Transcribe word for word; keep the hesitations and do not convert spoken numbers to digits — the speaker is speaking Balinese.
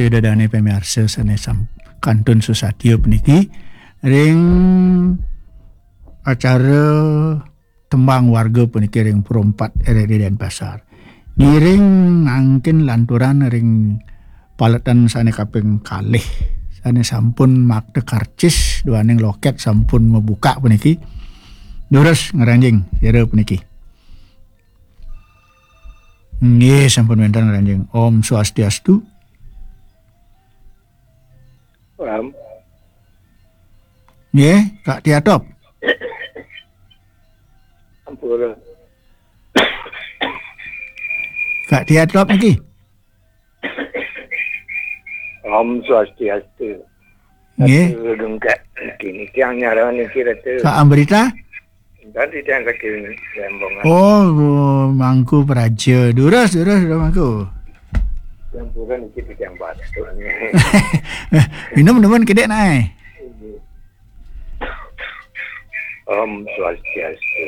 Ida dane pamiarsa sane sam-, kantun susatia puniki ring acara tembang warga puniki ring Pro empat R R I Denpasar. Ngiring mangkin lanturan ring paletan sane kaping kalih, sane sampun makta karcis duaning loket sampun mabuka puniki. Durus ngranjing sira puniki. Nggih, sampun wenten ngranjing. Om Swastiastu. Ram. Nggih, Kak Tiatop. Ampura. Kak Tiatop niki. Om Swastiastu. Nggih. Atur dungkak niki, niki yang nyaran niki, Ratu. Kak Amrita? Tadi yang kaki lembong. Oh, Mangku Praja. Durus, durus, durus, Mangku. Yang pura niki yang batuk ni. Minum, minum, kedek naik. Om Swastiastu.